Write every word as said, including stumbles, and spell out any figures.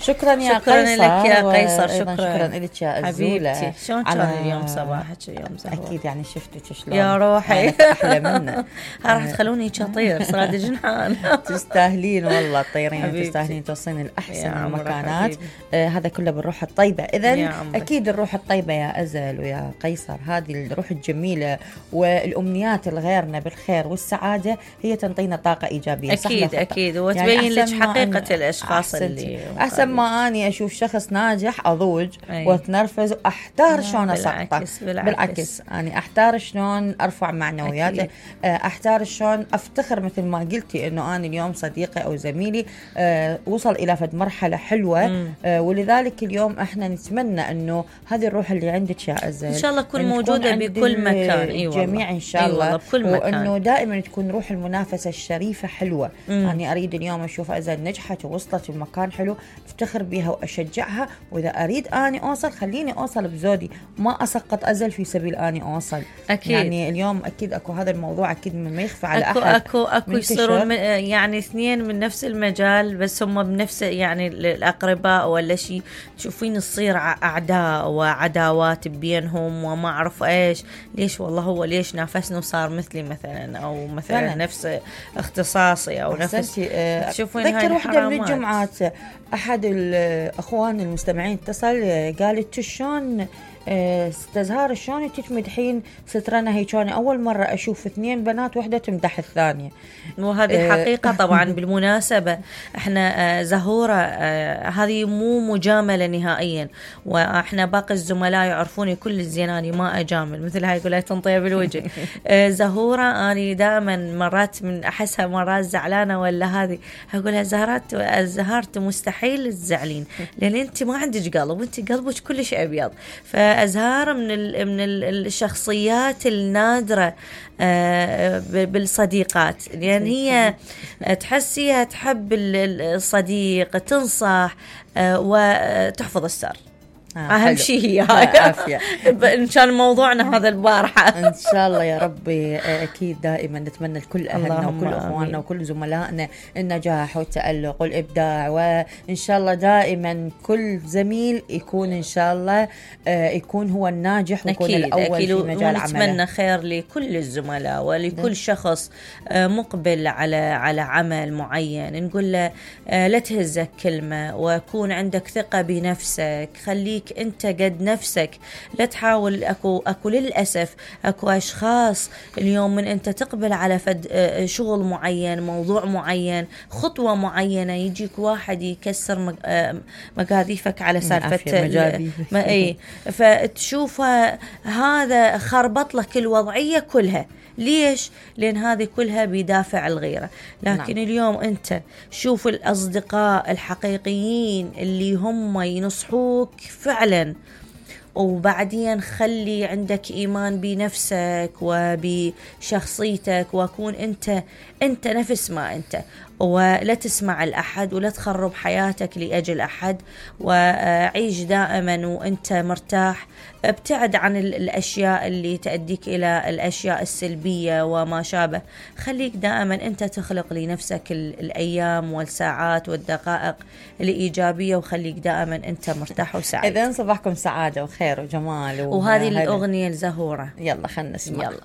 شكرا يا شكرا قيصر لك يا قيصر. شكرا شكرا لك يا أزولة. حبيبتي شلون كان اليوم صباحك اليوم زهور؟ أكيد يعني شفتك شلون يا روحي أحلى منه. راح تخلوني شطير صار جنحان. تستاهلين والله تطيرين، تستاهلين توصلين الأحسن المكانات. آه هذا كله بالروح الطيبة. إذن أكيد الروح الطيبة يا أزل ويا قيصر، هذه الروح الجميلة والأمنيات الغيرنا بالخير والسعادة هي تنطينا طاقة إيجابية. أكيد أكيد وتبين يعني لك حقيقة الأشخاص اللي أحسن ما أني أشوف شخص ناجح أضوج أي. وأتنرفز وأحتار شلون أسقطه. بالعكس, بالعكس بالعكس أنا أحتار شلون أرفع معنوياته، أحتار شلون أفتخر مثل ما قلتي إنه أنا اليوم صديقي أو زميلي أه وصل إلى فد مرحلة حلوة. أه ولذلك اليوم إحنا نتمنى إنه هذه الروح اللي عندك يا أزل إن شاء الله تكون موجودة بكل مكان. أيوة جميع إن شاء الله. أيوة بكل مكان. وإنه دائما تكون روح المنافسة الشريفة حلوة. أنا أريد اليوم أشوف أزل نجحت ووصلت في مكان حلو أفتخر بها وأشجعها، وإذا أريد أني أوصل خليني أوصل بزودي، ما أسقط أزل في سبيل أني أوصل. أكيد. يعني اليوم أكيد أكو هذا الموضوع أكيد ما يخفى على أكو أحد. أكو أكو يصيرون يعني اثنين من نفس المجال بس هم بنفس يعني الأقرباء ولا شيء، تشوفين تصير أعداء وعداوات بينهم وما أعرف إيش ليش. والله هو ليش نافسني وصار مثلي مثلا أو مثلا فعلا. نفس اختصاصي أو نفس أه تشوفين هاي الحرامات. ذكر واحدة من الجمعات أحد الأخوان المستمعين اتصل قالت شلون استزهار شلون تتمدحين سترنا هيك، أنا أول مرة أشوف اثنين بنات وحدة تمدح الثانية. وهذه حقيقة طبعا. بالمناسبة احنا زهورة هذه مو مجاملة نهائيا، واحنا باقي الزملاء يعرفوني كل الزيناني ما أجامل مثل هاي يقول لها تنطيه بالوجه. زهورة أنا دائما مرات من أحسها مرات زعلانة ولا هذه أقولها زهرات زهرت مستحيل تزعلين لأن أنت ما عندك قلب، أنت قلبك كل شيء أبيض. فأزهار من من الشخصيات النادرة بالصديقات، لأن هي تحسيها تحب الصديق تنصح وتحفظ السر. آه أهم شيء هي هاي. إن كان موضوعنا هذا البارحة إن شاء الله يا ربي. أكيد دائما نتمنى لكل أهلنا وكل أخواننا وكل زملائنا النجاح والتألق والإبداع، وإن شاء الله دائما كل زميل يكون إن شاء الله يكون هو الناجح ويكون الأول أكيد في مجال عمله. ونتمنى خير لكل الزملاء ولكل ده. شخص مقبل على على عمل معين نقول له لا تهزك كلمة وكون عندك ثقة بنفسك، خليك انت قد نفسك، لا تحاول. اكو اكو للاسف اكو اشخاص اليوم من انت تقبل على فد شغل معين موضوع معين خطوه معينه يجيك واحد يكسر مقاذيفك على سالفه ما اي فتشوفها هذا خربط لك الوضعيه كلها. ليش؟ لأن هذه كلها بدافع الغيرة. لكن نعم. اليوم أنت شوف الأصدقاء الحقيقيين اللي هم ينصحوك فعلا، وبعدين خلي عندك إيمان بنفسك وبشخصيتك وكون أنت أنت نفس ما أنت، ولا تسمع الأحد ولا تخرب حياتك لأجل أحد، وعيش دائما وأنت مرتاح. ابتعد عن الأشياء اللي تؤديك إلى الأشياء السلبية وما شابه. خليك دائما أنت تخلق لنفسك الأيام والساعات والدقائق الإيجابية، وخليك دائما أنت مرتاح وسعيد. إذن صباحكم سعادة وخير وجمال. وهذه الأغنية الزهورة يلا خلنا نسمع. يلا.